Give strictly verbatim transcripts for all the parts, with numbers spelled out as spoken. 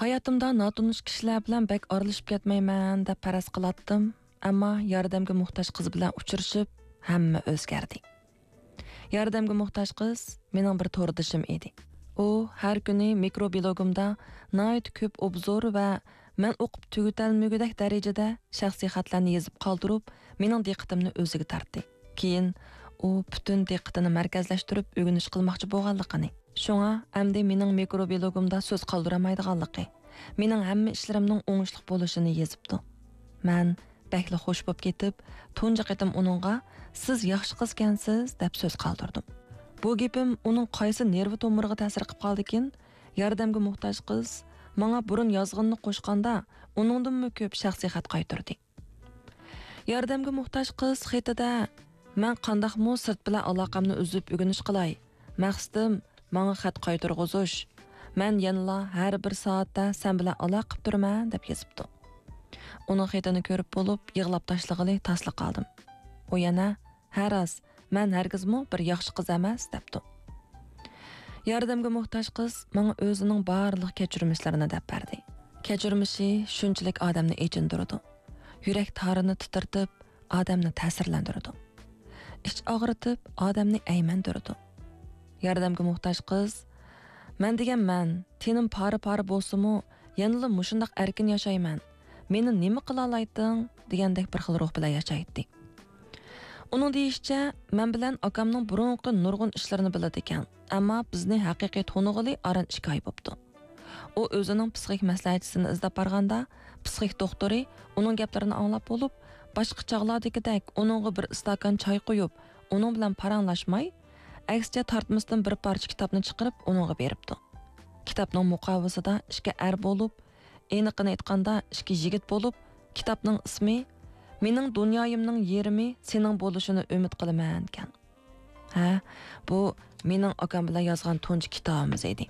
ھاياتىمدا ناتونۇش كىشىلەر بىلەن بەك ئارىلىشىپ كەتمەيمەن دەپ پەرەز قىلاتتىم، ئەمما ياردەمگە موھتاج قىز بىلەن ئۇچرىشىپ، ھەممە ئۆزگەردى. ياردەمگە موھتاج قىز مېنىڭ بىر توردىشىم ئىدى. ئۇ ھەر كۈنى مىكرو بىلوگۇمدا ناھايىتى كۆپ ئوبزور ۋە مەن ئوقۇپ تۈگىتەلمىگۈدەك دەرىجىدە شەخسىي خەتلەرنى يېزىپ قالدۇرۇپ، مېنىڭ دىققىتىمنى ئۆزىگە تارتتى. كېيىن ئۇ پۈتۈن دىققىتىنى مەركەزلەشتۈرۈپ ئۆگىنىش قىلماقچى بولغانلىقىنى، شۇڭا ئەمدى مېنىڭ مىكرو بىلوگۇمدا سۆز قالدۇرالمايدىغانلىقى، مېنىڭ ھەممە ئىشلىرىمنىڭ ئوڭۇشلۇق بولۇشىنى يېزىپتۇ. مەن بەكلا خوش بولۇپ كېتىپ، تۇنجى قېتىم ئۇنىڭغا «سىز ياخشى قىزكەنسىز» دەپ سۆز قالدۇردۇم. بۇ گېپىم ئۇنىڭ قايسى نېرۋا تومۇرىغا تەسىر قىلىپ قالدىكىن، ياردەمگە موھتاج قىز ماڭا بۇرۇن يازغىنىنى قوشقاندا، ئۇنىڭدىنمۇ كۆپ شەخسىي خەت قايتۇردى. ياردەمگە موھتاج قىز خېتىدە، «مەن قانداقمۇ سىرت بىلەن ئالاقەمنى ئۈزۈپ ئۆگىنىش قىلاي؟ مەقسىتىم، ماڭا خەت قايتۇرغۇزۇش. مەن يەنىلا ھەر بىر سائەتتە سەن بىلەن ئالاقە قىلىپ تۇرىمەن» دەپ يېزىپتۇ. ئۇنىڭ خېتىنى كۆرۈپ بولۇپ، يىغلاپ تاشلىغىلى تاسلا قالدىم. ئۇ يەنە، «ھە راست، مەن ھەرگىزمۇ بىر ياخشى قىز ئەمەس» دەپتۇ. ياردەمگە موھتاج قىز ماڭا ئۆزىنىڭ بارلىق كەچۈرمىشلىرىنى دەپ بەردى. كەچۈرمىشى شۇنچىلىك ئادەمنى ئېچىندۇرىدۇ. يۈرەك تارىنى تىترىتىپ، ئادەمنى تەسىرلەندۈرىدۇ. ئىچ ئاغرىتىپ، ئادەمنى ئەيمەندۈرىدۇ. ياردەمگە موھتاج قىز، «مەن دېگەن مەن، تېنىم پارە-پارە بولسىمۇ، يەنىلا مۇشۇنداق ئەركىن ياشايمەن. مېنى نېمە قىلالايتتىڭ؟» دېگەندەك بىر خىل روھ بىلەن ياشايتتى. ئۇنىڭ دېيىشىچە، مەن بىلەن ئاكامنىڭ بۇرۇنقى نۇرغۇن ئىشلىرىنى بىلىدىكەن، ئەمما بىزنى ھەقىقىي تونۇغىلى ئاران ئىككى ئاي بوپتۇ. ئۇ ئۆزىنىڭ پسىخىك مەسلىھەتچىسىنى ئىزدەپ بارغاندا، پسىخىك دوختۇرى ئۇنىڭ گەپلىرىنى ئاڭلاپ بولۇپ، باشقا چاغلاردىكىدەك ئۇنىڭغا بىر ئىستاكان چاي قۇيۇپ، ئۇنىڭ بىلەن پاراڭلاشماي، ئەكسىچە تارتمىسىدىن بىر پارچە كىتابنى چىقىرىپ ئۇنىڭغا بېرىپتۇ. كىتابنىڭ مۇقاۋىسىدا ئىككى ئەر بولۇپ، ئېنىقىنى ئېيتقاندا ئىككى يىگىت بولۇپ، كىتابنىڭ ئىسمى «مېنىڭ دۇنيايىمنىڭ يېرىمى سېنىڭ بولۇشىنى ئۈمىد قىلىمەن» ئىكەن. ھە، بۇ مېنىڭ ئاكام بىلەن يازغان تۇنجى كىتابىمىز ئىدى.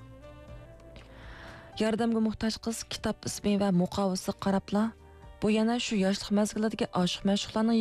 ياردەمگە موھتاج قىز كىتاب ئىسمى ۋە مۇقاۋىسىغا قاراپلا، «بۇ يەنە شۇ ياشلىق مەزگىلىدىكى ئاشىق-مەشۇقلارنىڭ